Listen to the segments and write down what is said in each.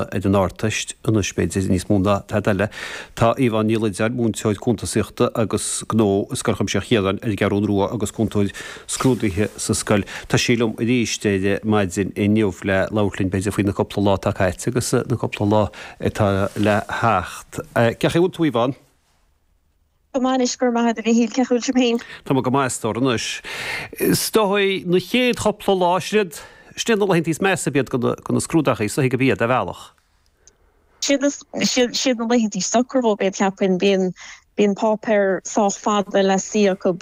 Ar an Ardteist anois, b'fhéidir, níos mó ná tada eile. Tá Yvonne Ní Loideáin, múinteoir cuntasaíochta agus gnó i Scoil Chuimsitheach Chiaráin ar an gCeathrún Rua agus cúntóir scrúduithe sa scoil. Tá sí liom arís ar maidin inniu le labhairt linn, b'fhéidir, faoi na cúpla lá atá caite agus na cúpla lá atá le theacht. Cén chaoi a bhfuil tú, Yvonne? Go maith anois, go raibh maith agat a Mhichíl, cén chaoi a bhfuil sibh féin? Tá mé go maith a stór anois. Is dóigh na chéad chúpla lá, sin iad, sin iad na laethantaí is measa ab iad do na scrúdachaí, is dóigh go b'iad, ar bhealach. Siad, siad, siad na laethantaí is ocra dhóibh iad, cheapfainn. Bíonn, bíonn páipéir sách fada le suí acu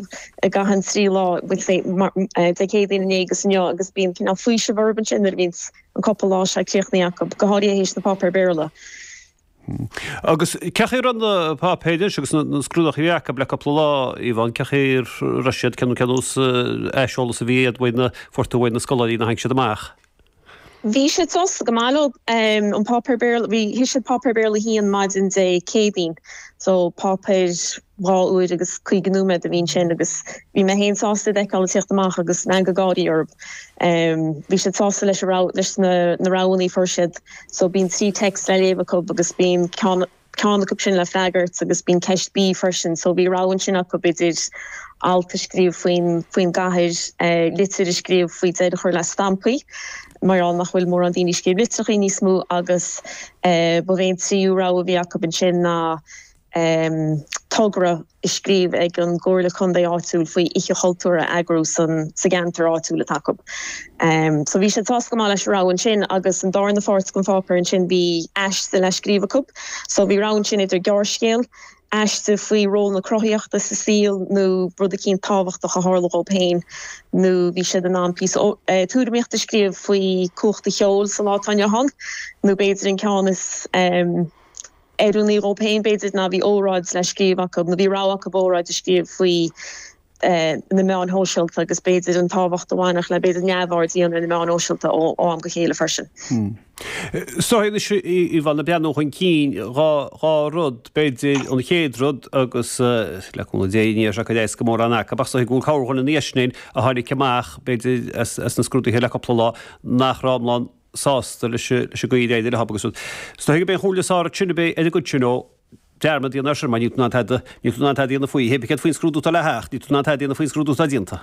i gcaitheamh an trí lá, bhuel say, mar, Dé Céadaoin, inné agus inniu agus bíonn cineál faoiseamh orthu ansin nuair a bhíonns an cúpla lá seo críochnaithe acu, go háirithe théis na páipéir Béarla. Agus cén chaoi a raibh na páipéir anois agus na scrúdachaí a bhí acu le cúpla lá, Yvonne, cén chaoi a raibh siad, cén nós aiseolas a bhí iad uaidh na, fuair tú uaidh na scoláirí nuair a tháinig siad amach? Bhí siad sásta go maith leo. An páipéar Béarla, bhí, shuigh siad páipéar Béarla a haon maidin Dé Céadaoin, so páipéar 2 uair agus 50 nóiméad a bhí ansin agus bhí mé féin sásta iad a fheiceáil ag tíocht amach agus meangadh gáirí orthu. Bhí siad sásta leis an rogha, leis na roghanna a fuair siad. So bíonn 3 text le léamh acu agus bíonn ceann ceann acu sin le freagairt agus bíonn ceist B freisin. So bhí rogha ansin acu idir alt a scríobh faoin faoin gcathair, litir a scríobh faoi deireadh a chur le stampaí, mar gheall nach bhfuil mórán daoine ag scríobh litreachaí níos mó agus ba é an tríú rogha a bhí acu ansin ná togra a scríobh ag an gComhairle Contae áitiúil faoi Oíche Chultúir a eagrú san sa gceantar áitiúil atá acu. So bhí siad sásta go maith leis an rogha ansin agus an darna pháirt den pháipéar ansin bhí aiste le scríobh acu. So bhí rogha ansin idir gearrscéal, aiste faoi ról na cruthaíochta sa saol nó rud eicínt tábhachtach a tharla dhóibh féin nó bhí siad in ann píosa tuairimíochta a scríobh faoi cumhacht an cheoil sa lá atá inniu ann nó b'fhéidir an ceann is oiriúnaí dhóibh féin, b'fhéidir, ná bhí óráid le scríobh acu, nó bhí rogha acu óráid a scríobh faoi na meáin shóisialta agus b'fhéidir an tábhacht a bhainfeadh le b'fhéidir neamhaird a dhéanamh ar na meáin shóisialta ó am go chéile freisin. So anois, Yvonne, ag breathnú chun cinn, 2 rud, b'fhéidir, an chéad rud agus le cúnamh Dé ní bheidh sé ag cur as do mhórán acu ach is dóigh go bhfuil corrdhuine ina dhiaidh sin a tháinig amach, b'fhéidir, as na scrúduithe le cúpla lá nach raibh iomlán sásta leis an gcaoi ar éirigh leo agus rud. Is dóigh gurb é an chomhairle is fearr ansin a bheidh ar an gcuid sin ó dearmad a dhéanamh air sin mar níl tú in ann tada, níl tú in ann tada a dhéanamh faoi. Hé, céard faoin scrúdú atá le theacht, níl tú in ann tada a dhéanamh faoin scrúdú atá déanta.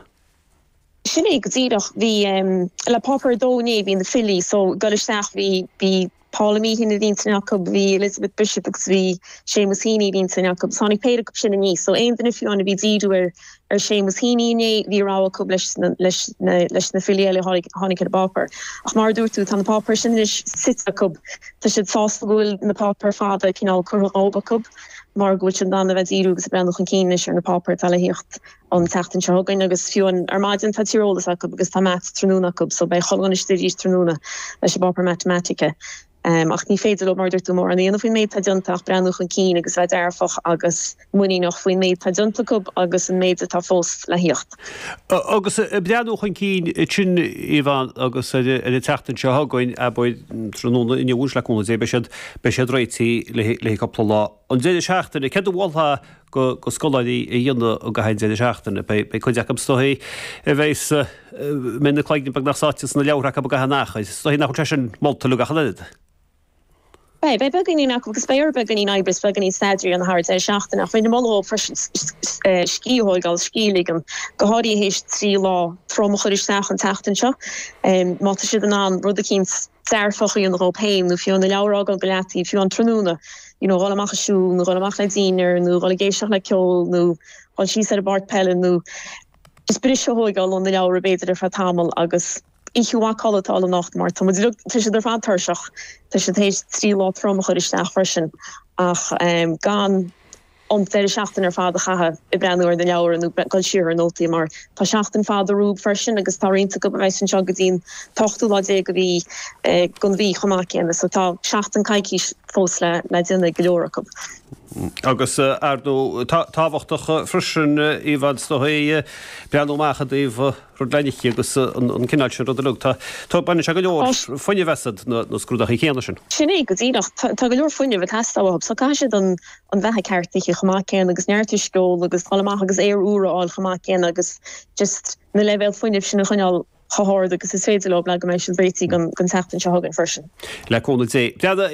Sin é go díreach. Bhí, le páipéar 2 inné bhí na filí so ag dul isteach bhí, bhí Paula Meehan ar intinn acu, bhí Elizabeth Bishop agus bhí Seamus Heaney ar intinn acu. So tháinig péire acu sin aníos. So aon duine fiú amháin a bhí ag díriú ar ar Seamus Heaney inné, bhí rogha acu leis na leis na leis na filí eile a tháinig tháinig ar an bpáipéar. Ach mar a dúirt tú, tá na páipéir sin anois suite acu. Tá siad sásta go bhfuil na páipéir fada cineál curtha dhóibh acu mar go bhfuil siad in ann a bheith ag díriú agus ag breathnú chun cinn anois ar na páipéir atá le thíocht an tseachtain seo chugainn agus fiú amháin ar maidin tá tíreolas acu agus tá maths tráthnóna acu so beidh chuile dhuine istigh arís tráthnóna leis an bpáipéar matamaitice. Ach ní féidir leo, mar a dúirt tú, mórán a dhéanamh faoin méid atá déanta ach breathnú chun cinn agus bheith dearfach agus muiníneach faoin méid atá déanta acu agus an méid atá fós le thíocht. Agus ag breathnú chun cinn ansin, Yvonne, agus ar an tseachtain seo chugainn, abair, tráthnóna inniu anois le cúnamh Dé, beidh siad, beidh siad réitithe le haghaidh cúpla lá. An deireadh seachtaine, céard a mholfá do scoláirí a dhéanamh i gcaitheamh an deireadh seachtaine. Beidh cuid acu is dóigh a bheas, a mbeidh na cloigne beagnach sáite sna leabhartha acu i gcaitheamh an achair. Is dóigh nach bhfuil sé sin molta leo ach an oiread. Beidh, beidh beagáinín acu agus beidh orthu beagáinín oibre is beagáinín staidéir a dhéanamh thar an deireadh seachtaine ach bheinn ag moladh dhóibh freisin scíth a thóigeáil, scíth a ligean, go háirithe théis 3 lá trom a chur isteach an tseachtain seo. Má tá siad in ann rud eicínt dearfach a dhéanamh dhóibh féin nó fiú na leabhair a fhágáil go leataobh, fiú an tráthnóna, you know, dhul amach ag siúl nó dhul amach le dinnéar nó dhul ag éisteacht le ceol nó dhul síos ar an bpáirc peile nó just briseadh a thóigeáil ó na leabhra b'fhéidir ar feadh tamaill agus oíche mhaith codlata a fháil anocht mar tá muid uilig, tá siad ar fad tuirseach, tá siad théis 3 lá trom a chur isteach freisin ach gan an deireadh seachtaine ar fad a chaitheamh ag breathnú ar na leabhra nó dul siar ar nótaí mar tá seachtain fada rompu freisin agus tá roinnt acu a bheas anseo go dtí an t-ochtú lá déag a bhí den mhí chomh maith céanna so tá seachtain coicís fós le déanamh ag go leor acu. Agus ar ndóigh tábhachtach freisin Yvonne is dóigh breathnú amach i dtaobh rud le n-ithe agus an cineál sin rud uilig. Tá, tá, baineann sé go leor fuinnimh asat, na scrúdachaí céanna sin. Sin é go díreach. Tá go leor fuinnimh ag teastáil uathu so caithfidh siad an an bheatha ceart a ithe chomh maith céanna agus neart uisce a ól agus dul amach agus aer úr a fháil chomh maith céanna agus just na leibhéil fuinnimh sin a choinneáil. chomh hard agus is féidir leo le go mbeidh siad réitithe don tseachtain seo chugainn freisin. Le cúnamh Dé.